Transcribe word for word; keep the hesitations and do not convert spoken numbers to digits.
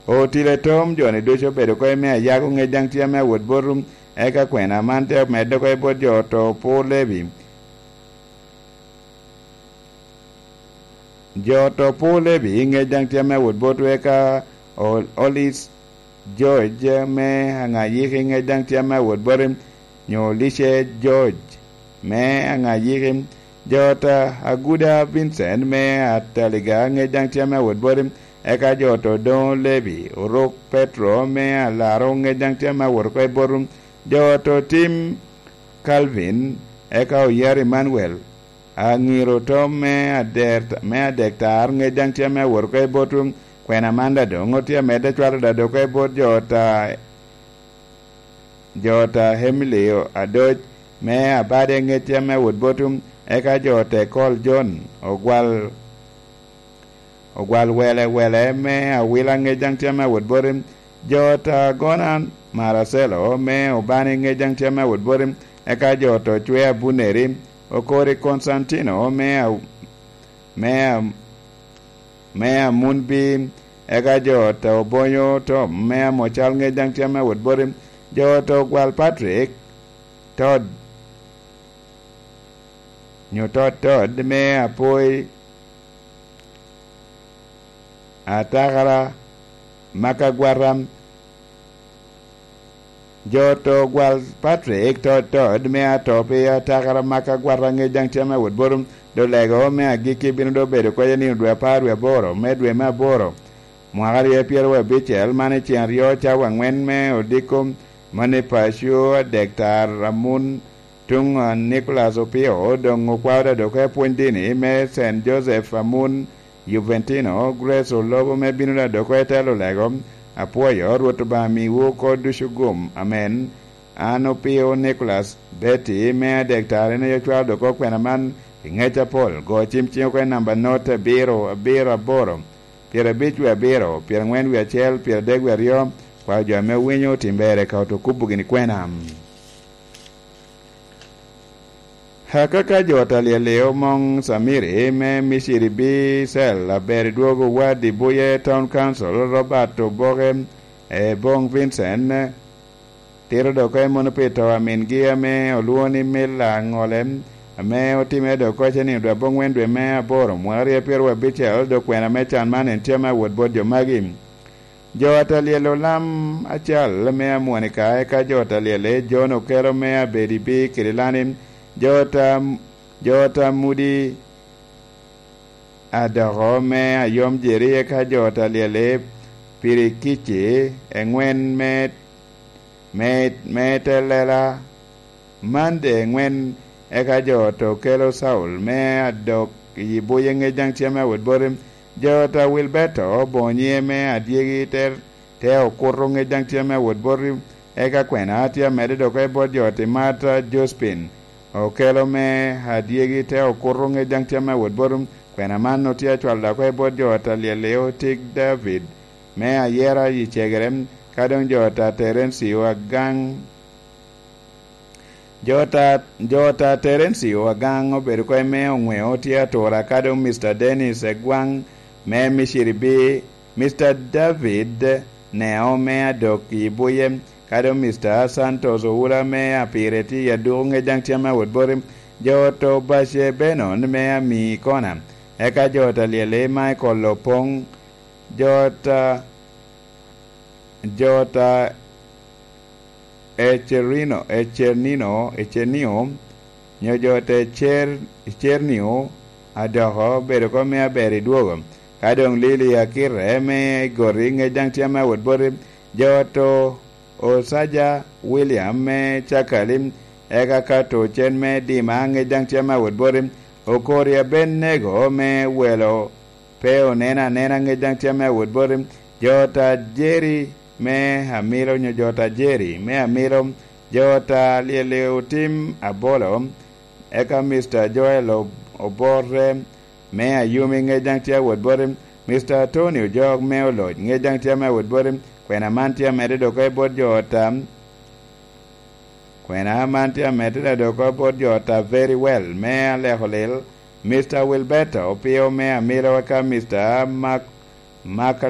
Otile Tom, jo-ni ducu obedo oko i me ayago ŋec daŋ tye ame awot botu, eka kwena man te omedde oko i bot jo oto Opur Levi. Jo oto Opur Levi ŋec daŋ tye ame awot botu, eka O-, Olis George me Aŋayiki ŋec daŋ tye ame awot bote, nyo Lice George me Aŋayiki. Jo oto Aguda Vincent me Ataliga ŋec daŋ tye ame awot bote, eka jo oto Doŋo Levi, Orok Petro me Alaro ŋec daŋ tye ame awot oko i botu. Jo oto Tim Calvin, eka Oyar Emmanuel, Aŋiro Tom me ader-, me adek tar ŋec daŋ tye ame awot oko i botwu. Kwena man daŋ doŋ otye amedde cwalo daŋ oko i bot jo oto, jo oto Emilio Adoc me Abade ŋec tye ame awot botwu, eka jo oto Ekol John Ogwal, Ogwal Wele Wele me Awila ŋec daŋ tye ame awot boti, jo oto Agona Maracelo me Obani ŋec daŋ tye ame awot boti, eka jo oto Cwe Abuneri, Okori Konstantino me A-, me A-, me Amunbi, eka jo oto Obonyo Tom me Amocal ŋec daŋ tye ame awot boti, jo oto Ogwal Patrick Todd, nyo Todd Todd me Apoi, Atakara Makagwata, jo oto Ogwal Patrick Todd Todd me Ato pi Atakara Makagwata ŋec daŋ tye ame awot boti, dolego me agikki bino doŋ bedo kede nino dwe apar wie aboro me dwe me aboro, mwaka aryo pyeraryo abicel, man i cen aryo cawa aŋwen me odiko, mano i paco adek tar Amun, tuŋ, ah, Nicholas Opio, doŋ okwao daŋ oko i pwony dini me Saint Joseph Amun, Juventino, Grace Olobo me bino daŋ oko i telo lego. Apwoyo Rwot Obaŋa miwu oko ducu gum. Amen. An Opio Nicholas Betty me adek tar en aye ocwalo daŋ oko kwena man i ŋec apol. Go cim ciŋ oko i namba not abiro, abiro, aboro, pyerabic wie abiro, pyeraŋwen wie acel, pyeradek wie aryo. Kwao jo ame owinyo otim ber eka oto kubo gini kwena. Akaka jo oto Alyel Leo Moŋ Samiri me Miciri B cell aber i dwogo wad i Buye Town Council, Robert Oboke, Eboŋ Vincent, tito daŋ oko i mono pi to a mingi ame olwoŋo ni Mila Aŋole, ame otimere daŋ oko i nino dwe aboŋwen dwe me aboro, mwaka aryo pyeraryo abicel, dok kwena me can man en tye ame awot bot jo magi. Jo oto Alyel Olam Acal me Amwonika, eka jo oto Alyel John Okelo me Abedi B Kirilani, jo oto, jo oto Mudi Adoko me Ayom Jeri, eka jo oto Alyel Pirikici eŋwen me, me, me Telela, Mande eŋwen, eka jo oto Okelo Saul me Adok i Buye ŋec daŋ tye ame awot boti, jo oto Wilberto Bonye me Adyegi te, te Okuto ŋec daŋ tye ame awot boti, eka kwena tye amedde daŋ oko i bot jo oto Marta Jospin Okelo me Adyegi te Okuto ŋec daŋ tye ame awot boti, kwena man otye acwalo daŋ oko i bot jo oto Alyel Leo Tik David me Ayera i Cegere, ka doŋ jo oto Terencio Agaŋ. Jo ta, jo ta Terencio Agaŋ obedo oko i me oŋweo tye atura, ka doŋ Mister Dennis Egwaŋ me Miciri B, Mister David Neo me Adok i Buye, ka doŋ Mister Santos Oula me Apire tye i Aduku ŋec daŋ tye ame awot boti, jo ta Bace Benon me Ami Kona, eka jo ta Lyeli Michael Opoŋ, jo ta jo ta Ecerino, Ecernino, Ecenio, nyo jo ta Ecer-, Ecernio, adoko bedo oko me aber i dwogo. Ka doŋ Lili Akite me Goti ŋec daŋ tye ame awot boti, jo ta Osaja William me Cakali, eka ka ta Ocen me Dima ŋec daŋ tye ame awot boti, Okori Abennego me Welo pe oneno anena ŋec daŋ tye ame awot boti, jo ta Jeri me Amilo nyo jo ta Jeri me Amilo, jo ta Lyeli Otim Abolo, eka Mister Joel Ob-, Obote me Ayumi ŋec daŋ tye awot boti, Mister Tony Ojok me Oloc ŋec daŋ tye ame awot boti, kwena man tye amedde doŋ oko i bot jo ta Kwena man tye amedde daŋ oko bot jo ta Very Well me Aleko Lil, Mister Wilberto Opio me Amilo, eka Mister Mak-, Mak-,